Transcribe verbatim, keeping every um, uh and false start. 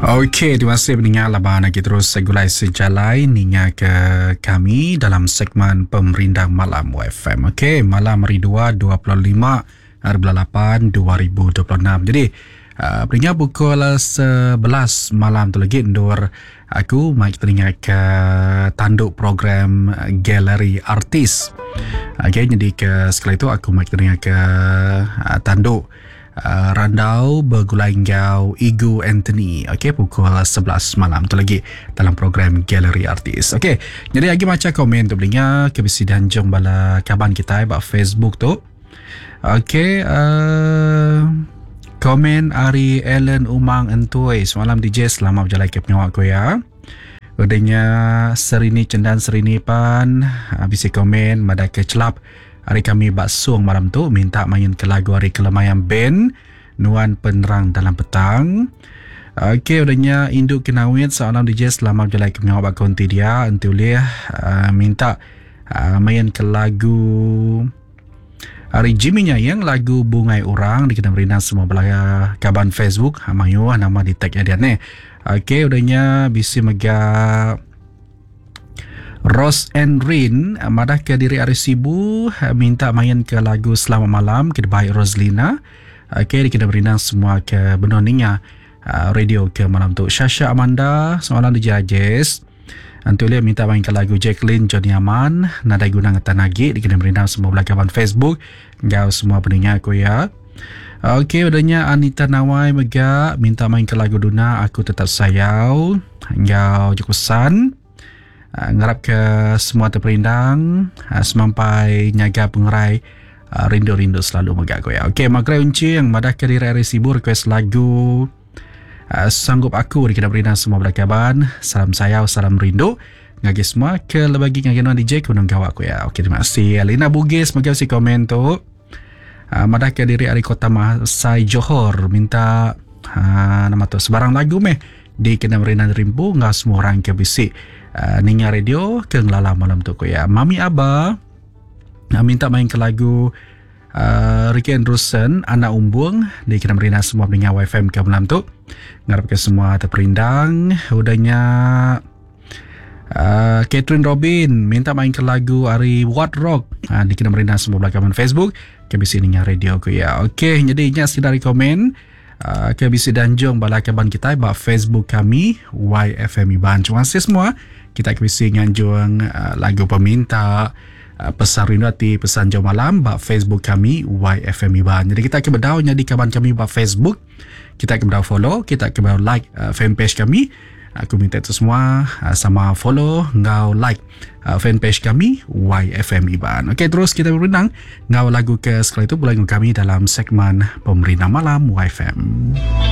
Okey, terima kasih peninga laban agi terus segulai sejalai ninga ke kami dalam segmen Pemerindang Malam Y F M. Okey, malam hari dua, dua puluh lima hari bulan lapan, dua ribu dua puluh enam. Jadi, uh, peninga pukul sebelas malam tu lagi endur aku mai telinga ke tanduk program Galeri Artis. Okey, jadi ke sekali tu aku mai telinga ke uh, tanduk Uh, randau begulai enggau Igu Anthony. Okey, pukul sebelas malam tu lagi dalam program Galeri Artis. Okey, jadi lagi baca komen tu belinga ke bisi danjung bala kaban kita ba Facebook tu. Okey, uh, komen ari Ellen Umang Entui. Semalam D J selamat berjalan ke pengawak ko ya. Udahnya Serini Cendan Serini pan bisi komen madah ke celap hari kami baksung malam tu minta main ke lagu hari Kelemayang Band Nuan Penerang Dalam Petang. Okey, udahnya Induk Kenawit seorang D J selamat berjalan ke pengawak konti dia enti ulih uh, minta uh, main ke lagu hari Jimmy nya yang lagu Bungai Orang dikena merindang semua belaya kaban Facebook mayu nama di tag dia ni. Okey, udahnya bisi mega Rose and Rin madah ke diri ari Sibu minta main ke lagu Selamat Malam ke baik Roslina. Okey, dikena merindang semua ke benoninga radio ke malam tu. Shasha Amanda semalam di Jazz. Antulia minta main ke lagu Jacqueline Johnny Aman nadai guna ngetan lagi dikena merindang semua belakaban Facebook enggau semua pendengar aku ya. Okey, udahnya Anita Nawai mega minta main ke lagu Duna Aku Tetap Sayau enggau Jukusan. Uh, ngarap ke semua terperindang uh, semampai nyaga pengerai uh, rindu-rindu selalu megak ko ya. Okey, Magrai Unci yang madah ke diri hari Sibu request lagu uh, Sanggup Aku dikena perindang semua belakaban. Salam sayau, salam rindu ngagi semua ke lebagi ngagi nuan D J kunung gawak ko ya. Okey, terima kasih Alina Bugis mega si komen tu. Uh, madah ke diri hari Kota Masai Johor minta uh, nama tu sebarang lagu meh dikena perindang rimpu ngah semua orang ke bisi Uh, ninga radio ke ngelala malam tu ko ya. Mami Aba uh, minta main ke lagu uh, Ricky Anderson Anak Umbung dikena merina semua pendengar Y F M ke malam tu. Ngarap ke semua terperindang. Udahnya uh, Catherine Robin minta main ke lagu Ari What Rock uh, dikena merina semua belakang Facebook ke bisi ninga radio ko ya. Okey, jadi nya sida komen Uh, ke bisi danjung bala kaban kita ba Facebook kami Y F M Iban. Terima kasih semua. Kita ke bisi nganjung uh, lagu peminta uh, pesan rindu hati, pesan jauh malam ba Facebook kami Y F M Iban. Jadi kita ke bedau nyadi kaban kami ba Facebook. Kita ke bedau follow, kita ke bedau like uh, fanpage kami. Aku minta itu semua uh, sama follow ngau like uh, fanpage kami Y F M Iban. Okey, terus kita berundang ngau lagu ke sekali itu bulan kami dalam segmen Pemerintah Malam Y F M.